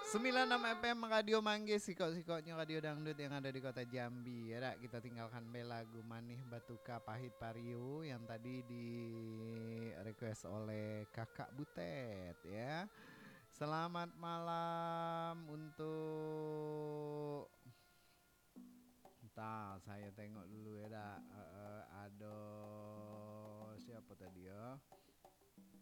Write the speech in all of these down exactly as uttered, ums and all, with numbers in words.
Sembilan enam F M Radio Manggis, sikok-sikoknyo radio dangdut yang ada di kota Jambi. Ya dak, kita tinggalkan be lagu Manih Batuka Pahit Pario yang tadi di request oleh Kakak Butet, ya. Selamat malam untuk, entah, saya tengok dulu ya dak. Eh, eh, ado siapa tadi ya?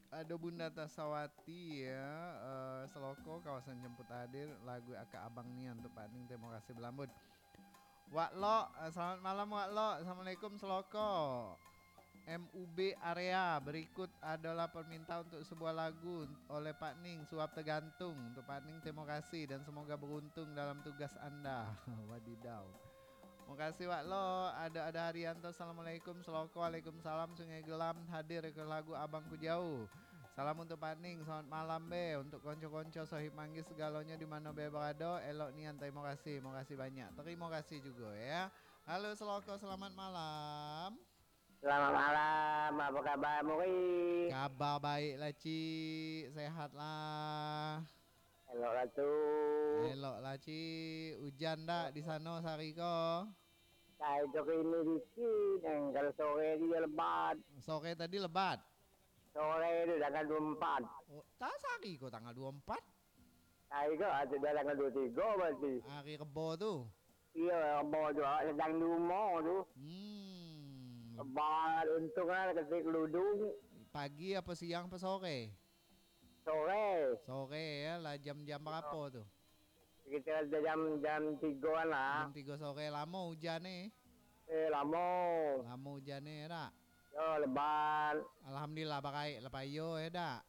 Ado Bunda Tasawati ya, eh, Seloko kawasan jemput hadir, lagu Akak Abang Nian untuk Pak Ning, terima kasih belambut. Wak Lok, eh, selamat malam Wak Lok. Assalamualaikum Seloko. M U B Area, berikut adalah permintaan untuk sebuah lagu oleh Pak Ning, Suap Tergantung. Untuk Pak Ning, terima kasih dan semoga beruntung dalam tugas anda. Wadidau. Makasih Wak Lo. Ada, ada Haryanto, assalamualaikum. Seloko, waalaikumsalam. Sungai Gelam hadir ke lagu Abang Ku Jauh. Salam untuk Pak Ning, selamat malam be. Untuk konco-konco, sohib manggis segalonyo di mano be barado, elok nian, terima kasih, makasih banyak. Terima kasih juga ya. Halo Seloko, selamat malam. Selamat malam, apa kabar Muri? Kabar baik lah Cik, sehat lah. Elok lah tu. Elok lah Cik, hujan dak di sano sehari ko? Sai tu kini dikit, eh, kalau sore tu dia lebat. Sore tadi lebat? Sore tu tanggal dua empat. Oh, tak sehari ko tanggal dua empat? Sai ko, ah, tu dah tanggal dua tiga berarti. Hari Rebo tu? Iyo, Rebo tu, awak sadang di rumah tu. Hmm. Lebat, untung lah ketik kerudung. Pagi apa siang apa sore? Sore. Sore ya, lah jam-jam berapa tu? Sekitar jam, jam tigaan lah. Jam tiga sore, lamo hujan ni? Eh, lamo. Lamo hujan ni, ya dak? Yo, lebat. Alhamdulillah, baraik lah payo, ya dak?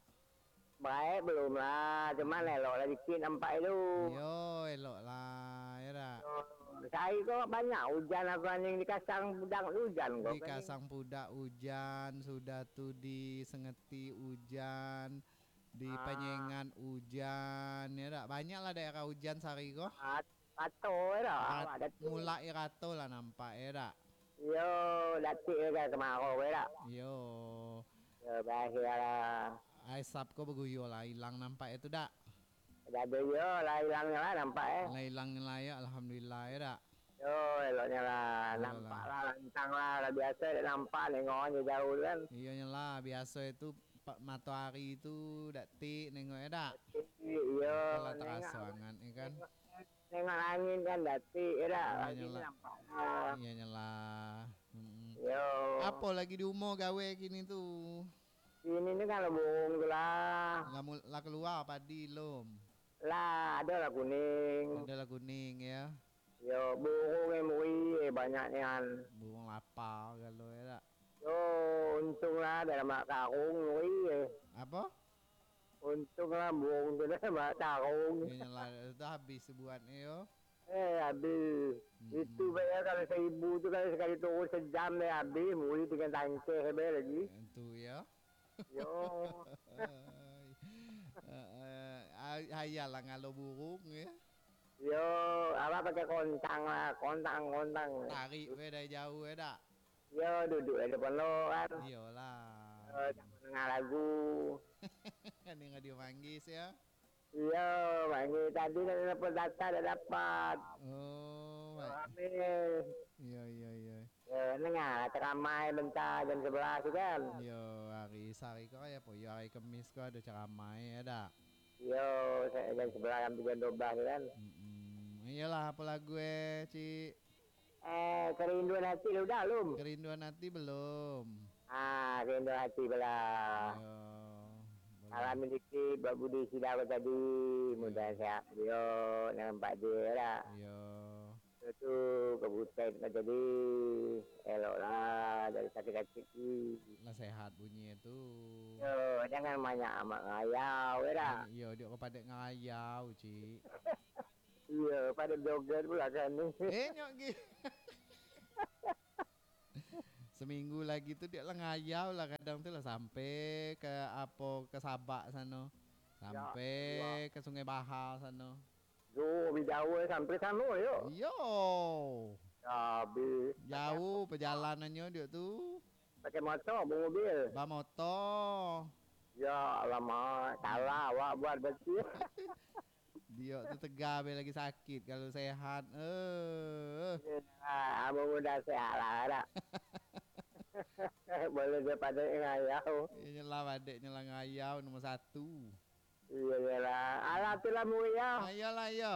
Baraik belum lah, cuman elok lah dikit nampak tu. Yo, elok lah, ya dak? Yo, sehari ko banyak hujan, aku anjing di Kasang Pudak tu hujan ko. Di Kasang Pudak hujan, sudah tu di Sengeti hujan, di Ah. Panyengat hujan, ya dak? Banyak lah daerah hujan sehari ko. Ah, rato ya dah, Rat-, awak dah tu. Mulai rato lah nampak, ya dak? Yo, datik ya dah kemarau ya dah. Yo. Yo, berakhir lah. Asap ko beguyur lah, hilang nampak itu dak? Dah ada yo lah, hilang lah nampak eh. Lah hilang lah ya, alhamdulillah ya dak? Yo, eloknya lah. Yo nampak lah. Lah, lantang lah. Lah biasa dek nampak, nengok je jauh tu kan. Iyo nyo lah, biasa itu pa-, matoari tu dak tik nengok ya dak? Iyo, lah teraso nengok, angat ni kan. Nengok, nengok langit kan dak tik ya dak? Iyo nyo lah. Nampak lah. Iyo nyo lah. Mm-mm. Yo. Apo lagi di umah gawe kini tu? Kini ni kan lah burung tu lah. Lah mul-, lah keluar padi lom? Lah, ado lah kuning. Ado lah kuning ya. Yo, burung eh Muri, eh, banyak nian. Burung lapar galo ya dak? Yo, untung lah dalam mak karung Muri eh. Apo? Untung lah burung tu dalam mak karung. Iyo lah, tu habis buat ni yo. Eh, habis. Mm-mm. Itu bayar kalau seribu tu kalau sekali turun sejam deh habis, Muri dengan tangkeh be lagi. Eh, tu ya. Yo. Ai. Eh, eh, ay-, hayal lah ngalo burung ya. Yo, awak pakai kontang lah, kontang, kontang. Tarik be dari jauh ya dak? Yo, duduk di depan lo kan. Iyolah. Yo, samo dengar lagu. Kan dengar dia manggis ya. Iyo, manggil tadi dah dapat data, dah dapat. Oh, baik. Rame. Iyo, iyo, iyo. Yo, nengah ceramah bentar jam sebelas tu kan. Iyo, hari sehari ko ya, po, iyo, hari Kemis ko ado ceramah ya dak? Iyo, se-, jam sebelas sampai jam dua belas tu kan. Mm-mm. Iyolah, apo lagu eh, Cik? Eh, Kerinduan Hati lah udah belum? Kerinduan Hati belum. Ah, Kerinduan Hati belah. Yo, boleh. Salam dikit buat Budi Sidar tadi. Yo. Mudah sehat. Yo, nampak dia lah. Yo. Itu tu, kebutai tadi. Elok lah, dari sakit-sakit ni. Lah sehat bunyi tu. Yo, jangan banyak amat ngayau, ya dah. Yo, dia kepada ngayau, Cik. Iyo, pada joget pula kan ni. Eh, nyok gi. Seminggu lagi tu dia lah ngayau lah, kadang tu lah sampai ke apo, ke Sabak sano. Ya, sampai ke Sungai Bahar sano. Yo, bi jauh sampai sano yo. Iyo. Ya, bi. Jauh perjalanannyo dia tu. Pakai motor, bamobil? Bamotor. Ya, alamak, salah awak buat berarti. Di Iyo, tu tegabe lagi sakit kalau sehat. Eh. Ah, abang muda sehat lah, dak? Boleh dia pada ngayau. Inyo lah badek nyo lah ngayau nomor satu. Iyo, iyolah. Alah, tu lah, Muri, yo. Ah, iyolah, iyo.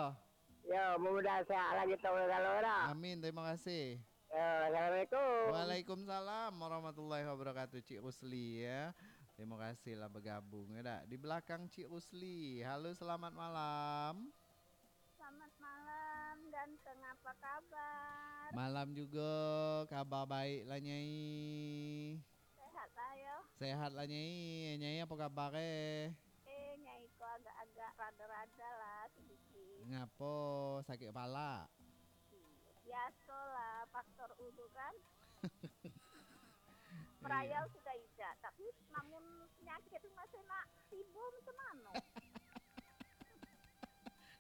Yo, mudah-mudahan sehat lah kito kalau, dak? Amin, terima kasih. Yo, assalamualaikum. Waalaikumsalam warahmatullahi wabarakatuh, Cik Rusli, ya. Terima kasih lah bergabung, ya, dak? Di belakang Cik Rusli. Halo, selamat malam. Selamat malam, ganteng, apa kabar? Malam juga, kabar baik lah, Nyai. Sehat lah, yo. Sehat lah, Nyai. Nyai, apa kabar, eh? Eh, Nyai ko agak-agak rada-rada lah, sedikit. Ngapo, sakit kepala? Iyo, biaso lah, faktor ulu kan. Merayau sudah idak, tapi namun penyakit tu masih nak tibo macam mano?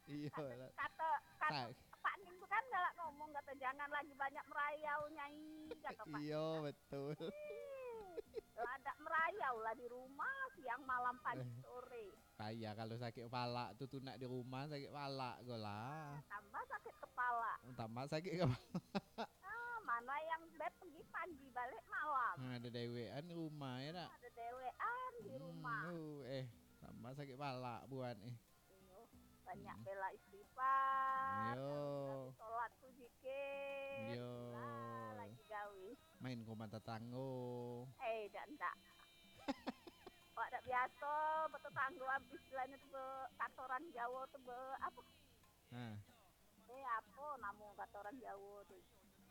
Iyo, kato, lah. Kato, kato Pak Ning tu kan galak ngomong, kato, "Jangan lagi banyak merayau, Nyai," kato Pak Ning. Iyo, betul. Ih, lah dak merayau lah di rumah, siang, malam, pagi, sore. Payah kalau sakit kepala tu, tu nak di rumah sakit kepala ko lah. Tambah sakit kepala. Tambah sakit kepala. Ah, mana yang beb pergi pagi, balik malam. Ha, ada dewekan di rumah, ya dak? Ada dewekan di rumah. Hmm, uh, eh, tambah sakit kepala buat, eh. Iyo, banyak bela istighfar. Iyo. Tapi solat tu zikir. Iyo. Lah, lagi gawe. Main ke rumah tetanggo. Eh, dak, ndak. Awak dak biaso, betetanggo, istilahnyo tu be, kato orang Jawo tu be, apo? Ha. Eh, apo namo kato orang Jawo tu?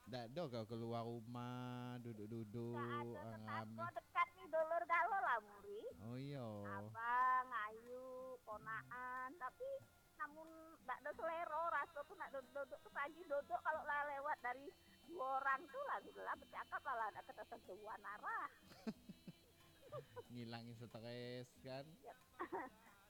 Dak ado kau keluar rumah, duduk-duduk, tetanggo rame. Dekat ni, dulur galo lah, Muri. Oh, iyo. Abang, ayu, ponaan, tapi namun dak ado selero, raso tu nak duduk-duduk tu pagi, duduk kalau lah lewat dari duo orang tu lah, sudah lah, bercakap lah, lah dak ketesentuhan arah. Ngilangin stres, kan? Yap.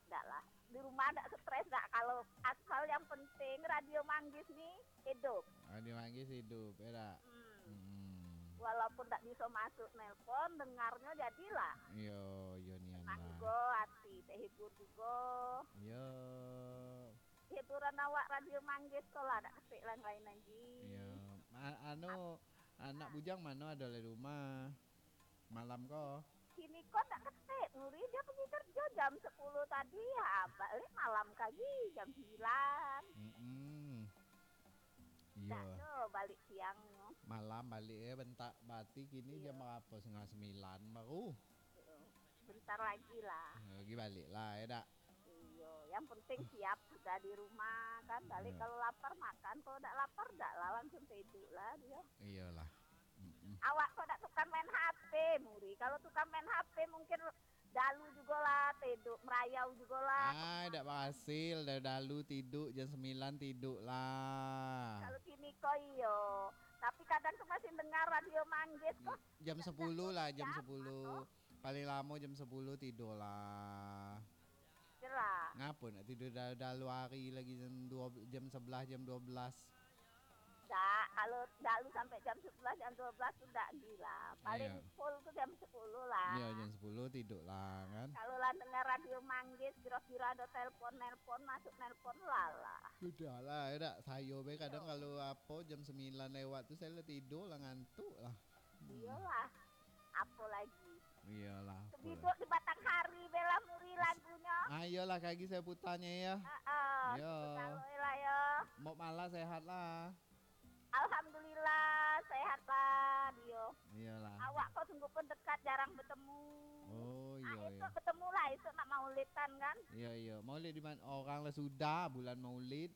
Dak lah. Di rumah dak stres dak. Kalau asal yang penting Radio Manggis ni hidup. Radio Manggis hidup, ya dak? Hmm. Hmm. Walaupun dak bisa masuk nelpon, dengarnyo jadilah. Iyo, iyo nian lah. Tenang jugo hati, terhibur jugo. Iyo. Hiburan awak Radio Manggis tu lah, dak ketek lah lain lagi. Iyo. Ma-, anu, anak bujang mano ado di rumah? Malam ko? Kini ko dak ketek, Muri, dia pergi kerja jam sepuluh tadi, ha, balik malam kagi jam sembilan. Mm-mm. Iyo. Dak ado balik siang. Malam balik, eh, bentak, berarti kini jam berapo? Setengah sembilan baru? Bentar lagi lah. Lagi balik lah, ya dak? Iyo, yang penting siap sudah di rumah kan. Balik kalau lapar makan, kalau dak lapar dak lah, langsung tidur lah dia. Iyolah. Mm-mm. Awak kok dak tukang main H P, Muri. Kalau tukang main H P mungkin dalu jugolah, tidur, merayau jugolah. Ai, dak berhasil, dah dalu tidur jam sembilan tidur lah. Kalau kini ko iyo. Tapi kadang tu masih dengar Radio Manggis ko. Jam sepuluh lah, jam sepuluh. Paling lamo jam sepuluh tidur lah. Jelas. Ngapo nak tidur dalu-dalu hari lagi jam dua, jam sebelas, jam dua belas? Dak, kalau dalu sampai jam sebelas, jam dua belas tu dak gila. Paling full tu jam sepuluh lah. Iyo, jam sepuluh tidur lah kan. Kalau lah dengar Radio Manggis, kira-kira ada telepon, nelpon, masuk nelpon, lah lah. Sudah lah, ya dak? Sayo be kadang kalau apo jam sembilan lewat tu sayo lah tidur lah, ngantuk lah. Hmm. Iyolah. Apo lagi? Iyolah, apo lah. Sebiduk di batang hari, bela Muri lagunyo. Ah, iyolah, kagi sayo putarnyo, ya. Heeh, iyo. Kalau lah, yo. Mok malah sehat lah. Alhamdulillah, sehat lah, Dio. Iyolah. Awak ko sungguh pun dekat, jarang betemu. Oh, iyo, iyo. Ah, esok betemu lah, esok nak maulidan kan. Iyo, iyo. Maulid di mana? Orang lah sudah bulan Maulid.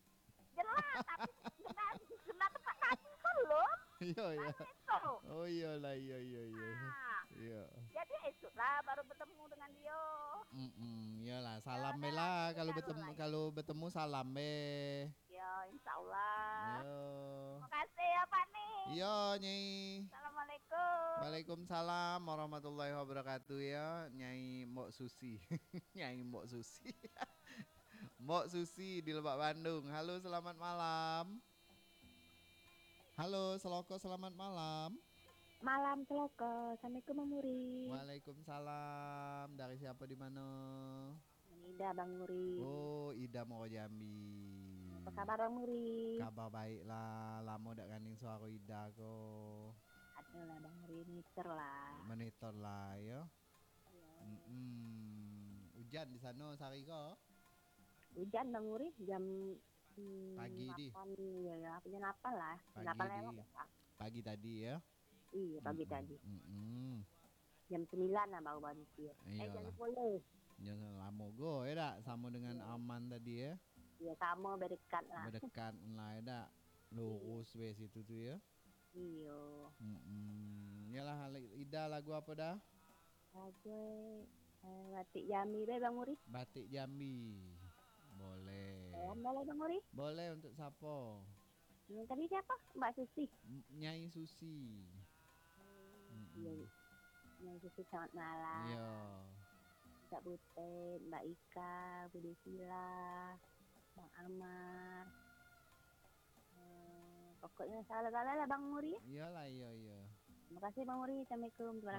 Jelas, tapi kena, kena tempat kami belum. Iyo, iyo. Kan esok. Oh, iyolah, iyo, iyo, iyo. Ah. Iyo. Jadi esok lah baru betemu dengan Dio. Mm-mm, iyolah, salam be lah, kalau betemu, kalau betemu salam be. Ya, insya Allah. Yo. Terima kasih ya, Pak Ning. Yo, Nyai. Assalamualaikum. Waalaikumsalam warahmatullahi wabarakatuh, ya, Nyai Mbok Susi. Nyai Mbok Susi. Mbok Susi di Lebak, Bandung. Halo, selamat malam. Halo, Seloko, selamat malam. Malam, Seloko. Assalamualaikum, Bang Muri. Waalaikumsalam. Dari siapa, di mana? Ida, Bang Muri. Oh, Ida Muaro Jambi. Apa kabar Bang Muri? Kabar baik lah, lamo dak ngandeng suaro Ida ko. Adolah Bang Muri, monitor lah. Monitor lah yo. Iyo. Mm-mm. Ujan di sano sahari ko? Ujan Bang Muri, jam, mm, pagi di. Lapan, yo, yo, jam lapan lah. Pagi lapan di. Lewat lah. Pagi tadi yo? Iyo, pagi tadi. Mm-mm. Jam sembilan lah baru baranti. Eh, jam sepuluh. Iyolah. Jam lamo go, yo dak? Samo dengan Aman tadi, yo? Iyo, samo, badekat lah. Badekat lah, yo dak? Lurus be situ tu, yo? Iyo. Mm-mm. Iyolah, Ida, lagu apo dah? Lagu, eh, Batik Jambi be, Bang Muri. Batik Jambi. Boleh. Eh, boleh, Bang Muri. Boleh, untuk siapo? Hmm, tadi siapo? Mbak Susi. M-, Nyai Susi. Hmm, mm-mm. Iya. Nyai Susi, selamat malam. Iya. Kak Butet, Mbak Ika, Budi Sila, Bang Amar. Eh, pokoknya salah-salah lah Bang Muri. Iyolah, iya, iya. Terima kasih Bang Muri. Assalamualaikum. Terima kasih.